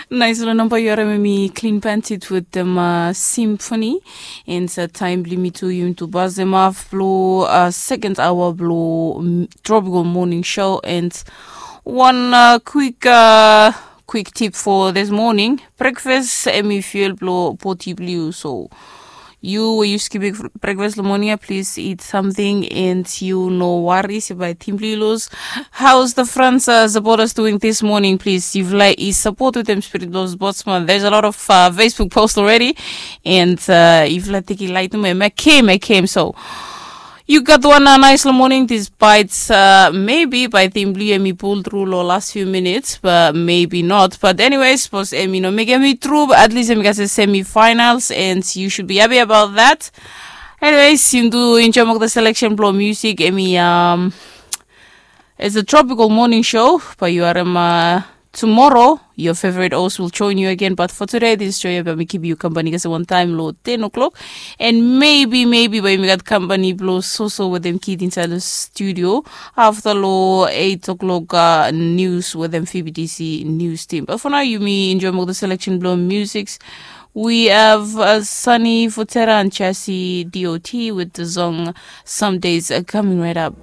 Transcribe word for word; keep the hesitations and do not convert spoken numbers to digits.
Nais long namba yu harim em i Clean Bandit wetem Symphony. And taim bilong yumi tu, yumi tu pasem haf bilong sekond aoa bilong Tropical Morning Show. And wan kwik kwik tip for this morning, breakfast em i fuel bilong bodi bilong yu. So yu we yu skipim breakfast long morning ya, please eat something and yu no wari se bai tim bilong yu lus. How's the France uh, supporters doing this morning? Please, yufala i support with them spirit those sportsman. There's a lot of uh, Facebook posts already, and uh, yufala tiki light me me came, I came. So you got one uh, nice morning. This bites uh, maybe by Team Blue and me pull through lo last few minutes, but maybe not. But anyways, suppose Emi no make Emi through. At least Emi got the semifinals, and you should be happy about that. Anyways, yumi tu enjoy mok the selection blow music. Emi um, it's a tropical morning show, but you are um, uh, tomorrow your favorite host will join you again. But for today, this show yumi keep you company kasi one time lo ten o'clock, and maybe maybe by yumi got company blow so so with them kid inside the studio after lo eight o'clock uh, news with them F B T C news team. But for now, yumi enjoy mok the selection blow musics. We have uh, Sunny Futera and Chassis D O T with the song Some Days uh, coming right up.